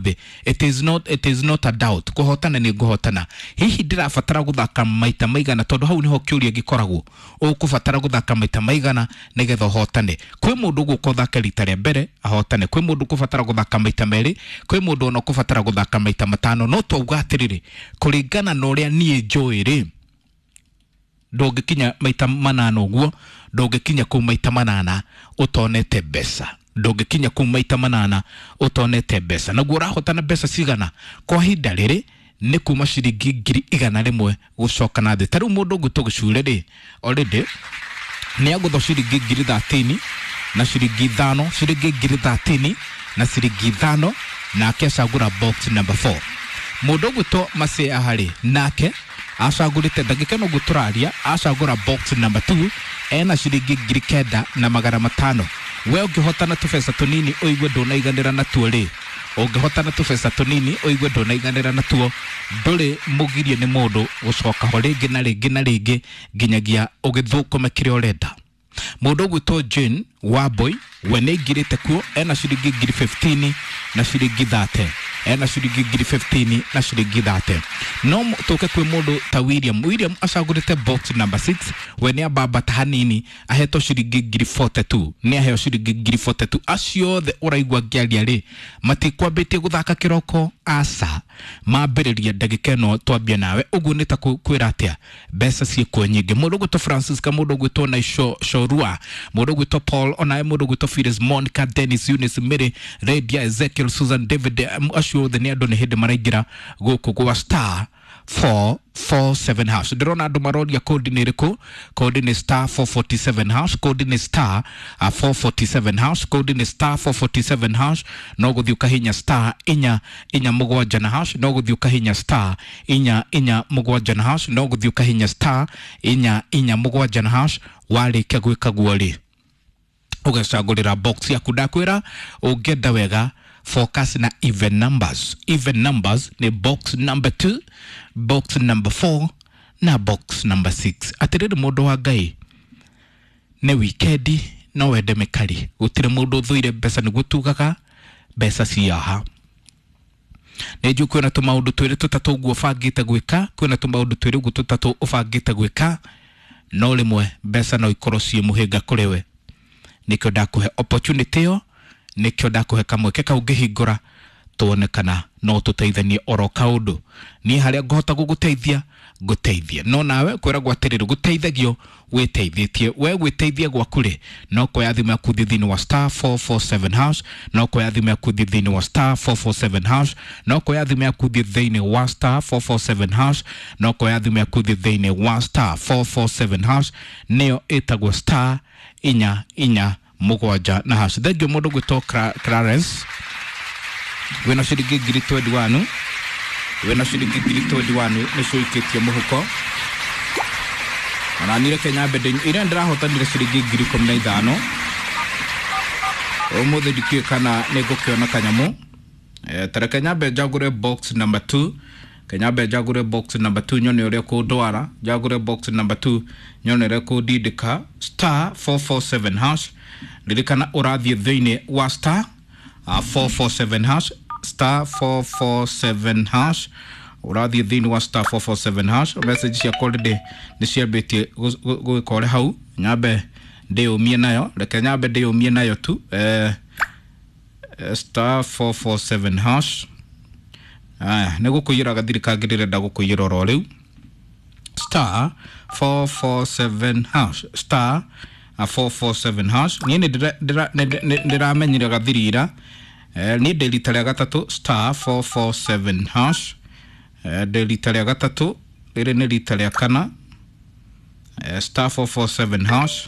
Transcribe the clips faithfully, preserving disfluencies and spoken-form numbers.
Thĩ. It is not, it is not a doubt, kũhotana nĩ ngũhotana. Hihi ndĩrabatara gũthaka maita maigana? Tondũ hau nĩho kĩũria gĩkoragwo, ũkũbatara gũthaka maita maigana nĩgetha ũhotane? Kwĩ mũndũ ũgũka ũthake rita rĩa mbere ahotane, kwĩ mũndũ ũkũbatara gũthaka maita merĩ, kwĩ mũndũ ona ũkũbatara gũthaka maita matano. No twauga atĩrĩrĩ, kũringana na ũrĩa niĩ njũĩ rĩ, ndũngĩkinya maita manana ũguo, ndũngĩkinya kũu maita manana ũtonete mbeca, ndũngĩkinya kũu maita manana ũtonete mbeca. Naguo ũrahotana mbeca cigana? Kwa ihinda rĩrĩ nĩ kuma ciringi ngiri igana rĩmwe gũcoka na thĩ. Ta rĩu mũndũ ũngĩ gĩcure rĩ, already nĩ agũthwo ciringi ngiri thatini na ciringi ithano, ciringi ngiri thatini na ciringi ithano, nake acagũra box number four. Mũndũ ũgwĩtwo Masia harĩ nake acagũrĩte ndagĩka ĩno ũguo tũraria, acagũra box number two, ena ciringi ngiri kenda na magana matano. We ũngĩhotana tũbeca tũnini ũigue ndũnaiganĩra natuo rĩ, ũngĩhotana tũbeca tũnini ũigue ndũnaiganĩra natuo, ndũrĩ mũgirie nĩ mũndũ gũcoka ho rĩngĩ na rĩngĩ na rĩngĩ nginyagia ũgĩthũkũme kĩrĩa ũrenda. Mũndũ ũgwĩtwo Jane Wambui we nĩ aingĩrĩte kuo, ena ciringi ngiri fifteen na ciringi thirty, ena ciringi ngiri fifteen na ciringi thirty. No tũke kwĩ mũndũ ta William. William acagũrĩte box number six, we nĩ ambambata hanini, ahetwo ciringi ngiri forty-two, nĩ aheo ciringi ngiri forty-two. Acio othe ũraigua ngĩaria rĩ, matikwambĩtie gũthaka kĩroko, aca, mambĩrĩria ndagĩka ĩno twambia nawe ũguo. Nĩ ta kwĩra atĩa, mbeca ciĩkuo nyingĩ. Mũndũ ũgwĩtwo Francisca, mũndũ ũgwĩtwo Naisho Shorua, mũndũ ũgwĩtwo Paul, onawe mũndũ ũgwĩtwo Phyllis, Monica, Dennis, Eunice, Mary, Redia, Ezekiel, Susan, David, acio othe nĩ andũ nĩ hĩndĩ maraingĩra gũkũ gwa star four four seven hash. Ndĩrona andũ maroria kodi nĩ ĩrĩkũ. Kodi nĩ star four forty-seven hash, kodi nĩ star uh, four forty-seven hash, kodi nĩ star four forty-seven hash. No gũthiĩ ũkahinya star inya inya mũgwanja na hash, no gũthiĩ ũkahinya star inya inya mũgwanja na hash, no gũthiĩ ũkahinya star inya inya mũgwanja na hash. Warĩkia gwĩka guo rĩ, ũgecagũrĩra box yaku. Ndakwĩra ũngĩenda wega, focus na even numbers. Even numbers ni box number two, box number four na box number six. Atiriri mũndũ wa Ngai, nĩ wikendi, no wende mĩkari, gũtirĩ mũndũ ũthũire mbeca, nĩguo tugaga mbeca ciaha. Nĩ njũĩ kwĩna tũmaũndũ twĩrĩ tũtatũ ũguo ũbangĩte gwĩka, kwĩna tũmaũndũ twĩrĩ ũguo tũtatũ ũbangĩte gwĩka, no rĩmwe mbeca no ikorwo ciĩ mũhĩnga kũrĩ we. Nĩkĩo ndakũhe opportunity ĩyo, nĩkĩo ndakũhe kamweke kau ngĩhingũra tuone kana no tũteithanie oro kaũndũ. Niĩ harĩa ngũhota gũgũteithia ngũteithie, no nawe kwĩragwo atĩrĩrĩ, gũteithagio wĩteithĩtie. We gwĩteithia gwaku rĩ, no kuoya thimũ yaku thiĩ thĩinĩ wa star four four seven hash, no kuoya thimũ yaku thiĩ thĩinĩ wa star four four seven hash, no kuoya thimũ yaku thiĩ thĩinĩ wa star four four seven hash, no kuoya thimũ yaku thiĩ thĩinĩ wa star four four seven hash, nĩyo ĩtagwo star inya inya mũgwanja na hash. Thengiũ mũndũ gwĩtwo Clarence, wĩna ciringi ngiri twenty-one, wĩna ciringi ngiri twenty-one nĩcio ũikĩtie mũhuko. Ona niĩ reke nyambe ndĩ ira ndĩrahotanire ciringi ngiri ikũmi na ithano, ũmũthĩ ndikĩũĩ kana nĩ ngũkĩona kanyamũ. Eh, ta reke nyambe njagũre box number two, kenyambe njagũre box number two nyone ũrĩa kũndwara, njagũre box number two nyone ũrĩa kũndindĩka. Star four four seven hash, ririkana ũrathiĩ thĩinĩ wa star uh, four four seven hash, star four four seven hash, ũrathiĩ thĩinĩ wa star four four seven hash. Message ciakwa already nĩ ciambĩtie gwĩka ũrĩa hau, nyambe ndĩyũmie nayo, reke nyambe ndĩyũmie nayo tu. eh, star four four seven hash. Aya, nĩ gũkũiyĩra gathiri kangĩ ndĩrenda gũkũiyĩra oro rĩu. Star four four seven hash, star four four seven hash. Niĩ nĩ ndĩramenyire gathiri ira, niĩ ndĩ rita rĩa gatatũ star four four seven hash, ndĩ rita rĩa gatatũ, rĩrĩ nĩ rita rĩa kana, star four four seven hash.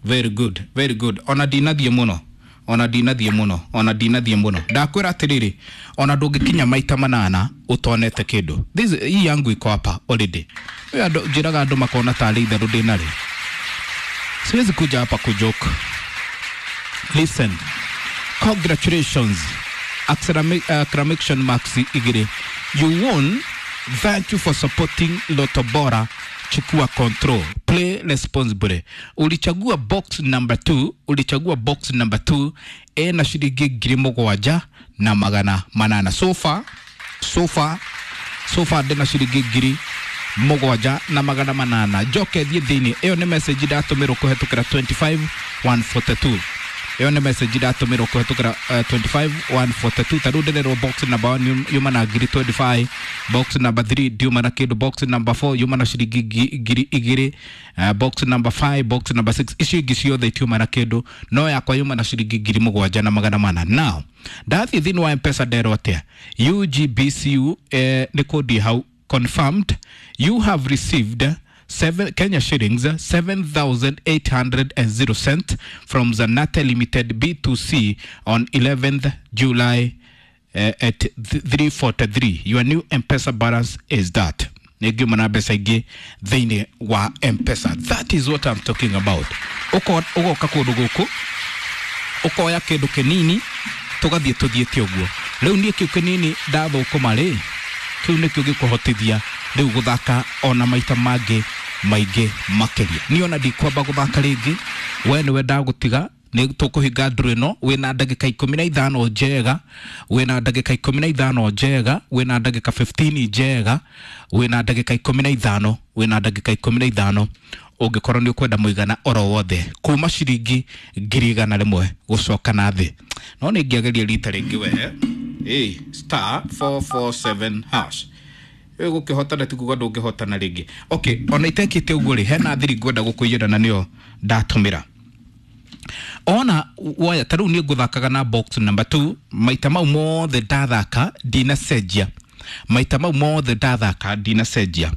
Very good, very good. Ona ndinathiĩ mũno, ona ndinathiĩ mũno, ona ndinathiĩ mũno. Ndakwĩra atĩrĩrĩ, ona ndũngĩkinya maita manana ũtonete kĩndũ. This hii yangu iko hapa already. Wewe andũ njĩraga andũ makona tarĩ itherũ ndĩnarĩ. Siwezi kuja hapa kujoke. Listen, congratulations, exclamation marks igĩrĩ. You won. Thank you for supporting Lotto Bora. Chukua control, play responsibly. Ulichagua box number two, ulichagua box number two ena ciringi ngiri mũgwanja na magana manana. So far, so far, so far ndĩna ciringi ngiri mũgwanja na magana manana. Njoke thiĩ thĩinĩ, ĩyo nĩ message ndatũmĩrwo kũhetũkĩra twenty five one forty two. Ĩyo nĩ message ndatũmĩrwo kũhetũkĩra uh, twenty five one forty two. Ta rĩu ndĩrerwo box number one yuma na ngiri twenty five, box number three ndiuma na kĩndũ, box number four yuma na ciringi ngiri igĩrĩ, uh, box number five, box number six, icio ingĩ ciothe itiuma na kĩndũ, no yakwa yuma na ciringi ngiri mũgwanja na magana mana. Now ndathiĩ thĩinĩ wa M-Pesa nderwo atĩa? U G B C U eh, nĩ kũndie hau confirmed you have received seven Kenya shillings seven thousand eight hundred and zero cent from Zanate Limited B two C on eleventh July uh, at three forty-three. Your new M-Pesa balance is that. Nĩngiuma na mbeca ingĩ thĩinĩ wa M-Pesa. That is what I'm talking about. Ũgoka kũndũ gũkũ ũkoya kĩndũ kĩnini tũgathiĩ tũthiĩte ũguo. Rĩu niĩ kĩu kĩnini ndathũkũma rĩ, kĩu nĩkĩo gĩkũhotithia rĩu gũthaka ona maita mangĩ maingĩ makĩria. Niĩ ona ndikwamba gũthaka rĩngĩ, we nĩwe ndagũtiga, nĩ tũkũhinga ndũrũ ĩno wĩna ndagĩka ikũmi na ithano njega, wĩna ndagĩka ikũmi na ithano njega, wĩna ndagĩka fifteen njega, wĩna ndagĩka ikũmi na ithano, wĩna ndagĩka ikũmi na ithano ũngĩkorwo nĩ ũkwenda mũigana oro wothe kuma ciringi ngiri igana rĩmwe gũcoka na thĩ. No nĩ ingĩageria rita rĩngĩ we. Ĩ, star four four seven hash. Ĩ, gũkĩhotana ti kuga ndũngĩhotana rĩngĩ. Okay, ona itekĩte ũguo rĩ, hena thiri ngwenda gũkũiyĩra na nĩyo ndatũmĩra. Ona woya ta rĩu niĩ ngũthakaga na box number two, maita mau mothe ndathaka ndinacenjia. Maita mau mothe ndathaka ndinacenjia.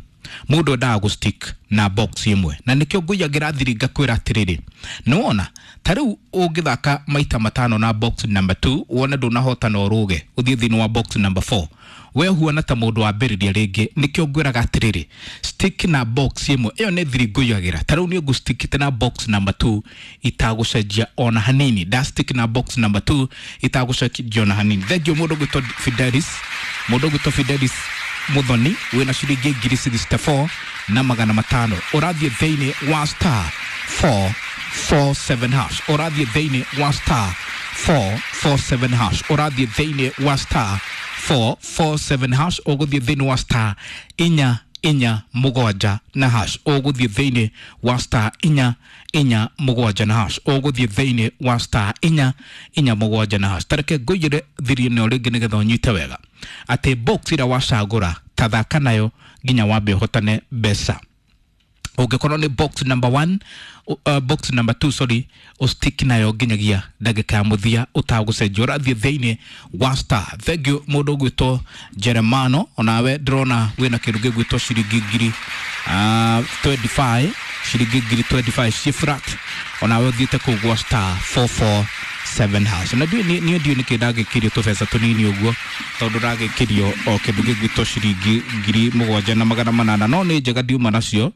Mũndũ endaga gũ stick na box ĩmwe, na nĩkĩo ngũiyagĩra thiri ngakwĩra atĩrĩrĩ, nĩwona ta rĩu ũngĩthaka maita matano na box number two wone ndũnahotana ũrũge ũthiĩ thĩinĩ wa box number four, we huana ta mũndũ wambĩrĩria rĩngĩ. Nĩkĩo ngwĩraga atĩrĩrĩ, stick na box ĩmwe, ĩyo nĩ thiri ngũiyagĩra. Ta rĩu niĩ ngũstickĩte na box number two itagũcenjia ona hanini, nda stick na box number two itagũcenjia ona hanini. Thengiũ mũndũ ũgwĩtwo Fidelis, mũndũ ũgwĩtwo Fidelis Muthoni wĩna ciringi ngiri sixty four na magana matano, ũrathiĩ thĩinĩ wa star four four seven hash, ũrathiĩ thĩinĩ wa star four four seven hash, ũrathiĩ thĩinĩ wa star four four seven hash, ũgũthiĩ thĩinĩ wa star inya inya mũgwanja na hash, ũgũthiĩ thĩinĩ wa star inya inya mũgwanja na hash, ũgũthiĩ thĩinĩ wa star inya inya mũgwanja na hash. Tareke ngũiyĩre thiri ĩno rĩngĩ nĩgetha ũnyite wega atĩ box ĩrĩa wacagũra tathaka nayo nginya wambe ũhotane mbeca. Ũngĩkorwo nĩ box number one, uh, box number two, sorry, ũstick nayo nginyagia ndagĩka ya mũthia ũtagũcenjia, ũrathiĩ thĩinĩ wa star. Thank you mũndũ ũgwĩtwo Jeremano, onawe ndĩrona wĩna kĩndũ gĩgwĩtwo ciringi ngiri uh, twenty five, ciringi ngiri twenty five ci flat, onawe ũthiĩte kũu gwa star four four seven hash. Na ndiũĩ niĩ ndiũĩ nĩkĩ ndagĩkĩrio tũbeca tũnini ũguo, tondũ ndagĩkĩrio o kĩndũ gĩgwĩtwo ciringi ngiri mũgwanja na magana manana, no nĩ njega ndiuma nacio,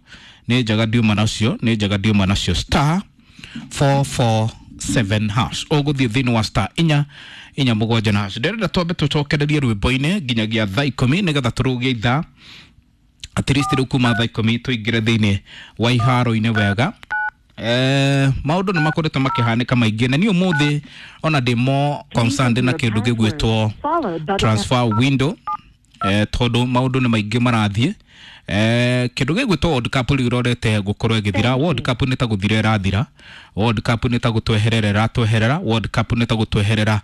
nĩ njega ndiuma nacio, nĩ njega ndiuma nacio. Star four four seven hash, ũgũthiĩ thĩinĩ wa star inya inya mũgwanja na hash. Ndĩrenda twambe tũcokererie rwĩmbo-inĩ nginyagia thaa ikũmi nĩgetha tũrũgie ithaa at least rĩu kuma thaa ikũmi tũingĩre thĩinĩ wa iharo-inĩ wega. Eh, maũndũ nĩ makoretwo makĩhanĩka maingĩ, na niĩ ũmũthĩ ona ndĩ more concerned na kĩndũ gĩgwĩtwo transfer window, eh, tondũ maũndũ nĩ maingĩ marathiĩ. Eh, kĩndũ gĩgwĩtwo World Cup rĩu ĩrorete gũkorwo ĩgĩthira. World Cup nĩ ta gũthira ĩrathira, World Cup nĩ ta gũtweherera ĩratweherera, World Cup nĩ ta gũtweherera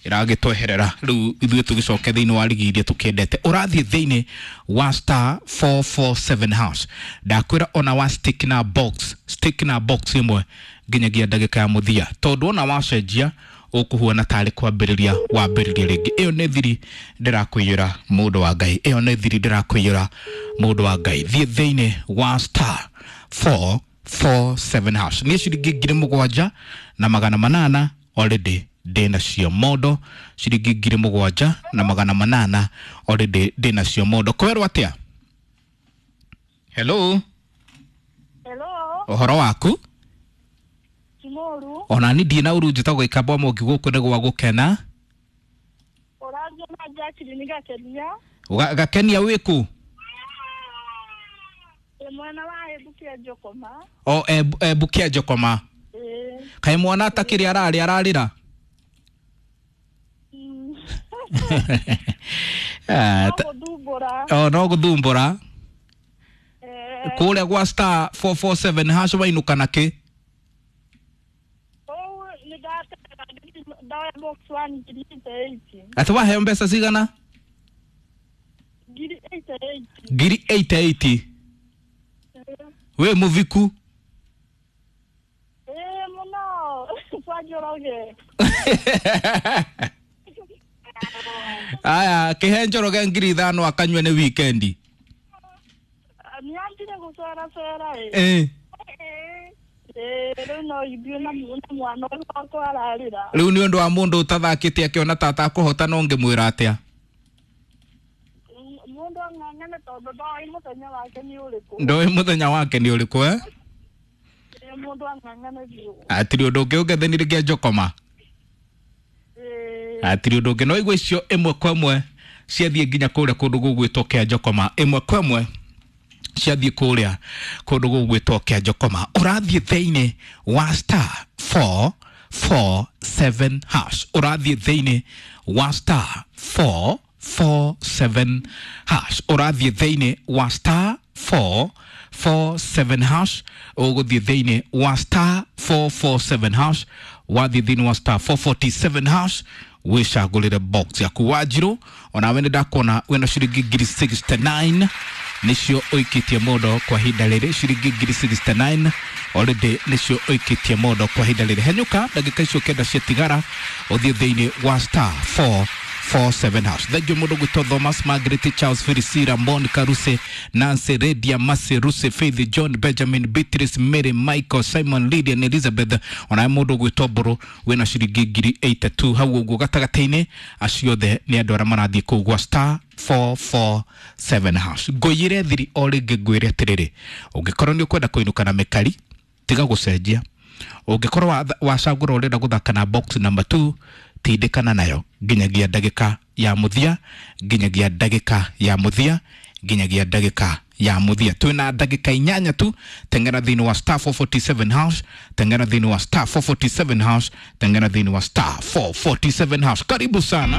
ĩragĩtweherera. Rĩu ithuĩ tũgĩcoke thĩinĩ wa rigi iria tũkĩendete. Ũrathiĩ thĩinĩ wa star four four seven hash, ndakwĩra ona wa stick na box, stick na box ĩmwe nginyagia ndagĩka ya mũthia, tondũ ona wacenjia ũkũhuana tarĩ kwambĩrĩria wambĩrĩria rĩngĩ. Ĩyo nĩ thiri ndĩrakũiyĩra mũndũ wa Ngai, ĩyo nĩ thiri ndĩrakũiyĩra mũndũ wa Ngai. Thiĩ thĩinĩ wa star four four seven hash. Niĩ ciringi ngiri mũgwanja na magana manana already ndĩnacio mondo, ciringi ngiri mũgwanja na magana manana already ndĩnacio mondo. Kwerwo atĩa? Hello. Hello. Ũhoro waku? Kimoru. Ona ni ndiĩ na ũru, njĩtagwo Ikamba Mũngi gũkũ nĩ gwa gũkena. Ũraria na Jacqueline Gakenia. Gakenia wĩkũ? Ĩ Mwena wa Bukia Njokoma. O e, e, Bukia Njokoma. Ĩĩ. Kaĩ mwana atakĩrĩ ararĩ ararĩra? Mm. Ah, No ta- gũthumbũra. O no gũthumbũra. Eh, Kũrĩa gwa star four four seven hash wainũka na kĩ? Kũu nĩ ndatega ndoya box one ngiri eighty eight. Atĩ waheo mbeca cigana? Ngiri eighty eight. Ngiri eighty eight. Ĩĩ. Wĩ mũviku? Ĩĩ mũno. Kwa Njoroge. Aya, kĩhe Njoroge ngiri ithano akanyue nĩ wikendi. Nĩanjire gũceracera ĩ. Ĩĩ. Ĩĩ rĩu no ithuĩ na na mwana ũyũ wakwa ararĩra. Rĩu nĩ ũndũ wa mũndũ ũtathakĩte akĩona ta atakũhota no ngĩmwĩra atĩa? M- Mũndũ ang'ang'ane tondũ ndoĩ mũthenya wake nĩ ũrĩkũ. Ndoĩ mũthenya wake nĩ ũrĩkũ eh? Ĩĩ mũndũ ang'ang'ane biũ. Hatirĩ ũndũ ũngĩ ũngethenire kĩa Njokoma. Ĩĩ. Hatirĩ ũndũ ũngĩ no igua icio ĩmwe kwa ĩmwe ciathiĩ nginya kũrĩa kũndũ gũgwĩtwo kĩa Njokoma. Ĩmwe kwa ĩmwe ciathiĩ kũrĩa kũndũ gũgwĩtwo kĩa Njokoma. Ũrathiĩ thĩinĩ wa star four four seven hash. Ũrathiĩ thĩinĩ wa star four four seven hash. Ũrathiĩ thĩinĩ wa star four four seven hash. Ũgũthiĩ thĩinĩ wa star four four seven hash. Wathiĩ thĩinĩ wa star four forty seven hash wĩcagũrĩre box yaku. Wanjirũ onawe nĩ ndakuona wĩna ciringi ngiri sixty nine nĩcio ũikĩtie mũndũ kwa ihinda rĩrĩ, ciringi ngiri sixty nine already nĩcio ũikĩtie mũndũ kwa ihinda rĩrĩ. Henyũka ndagĩka icio kenda ciatigara ũthiĩ thĩinĩ wa star four four seven hash. Thank you mũndũ gwĩtwo Thomas, Margaret, Charles, Felicira, Monica, Ruse, Nancy, Redia, Masi, Ruse, Faith, John, Benjamin, Beatrice, Mary, Michael, Simon, Lydia na Elizabeth. Onawe mũndũ gwĩtwo Mbũrũ wĩna ciringi ngiri eighty two hau ũguo gatagatĩ-inĩ. Acio othe nĩ andũ arĩa marathiĩ kũu gwa star four four seven hash. Ngũiyĩre thiri o rĩngĩ ngwĩre atĩrĩrĩ, ũngĩkorwo nĩ ũkwenda kũinũka na mĩkari tiga gũcenjia. Ũngĩkorwo wacagũra ũrenda gũthaka na box number two, tindĩkana nayo nginyagia ndagĩka ya mũthia, nginyagia ndagĩka ya mũthia, nginyagia ndagĩka ya mũthia. Twĩna ndagĩka inyanya tu. Teng'era thĩinĩ wa star four forty seven hash, teng'era thĩinĩ wa star four forty seven hash, teng'era thĩinĩ wa star four forty seven hash. Karibu sana.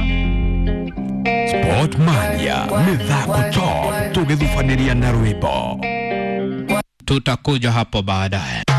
Sport Mania, mithako top, tũgĩthubanĩria na rwĩmbo. Tutakuja hapo baadaye.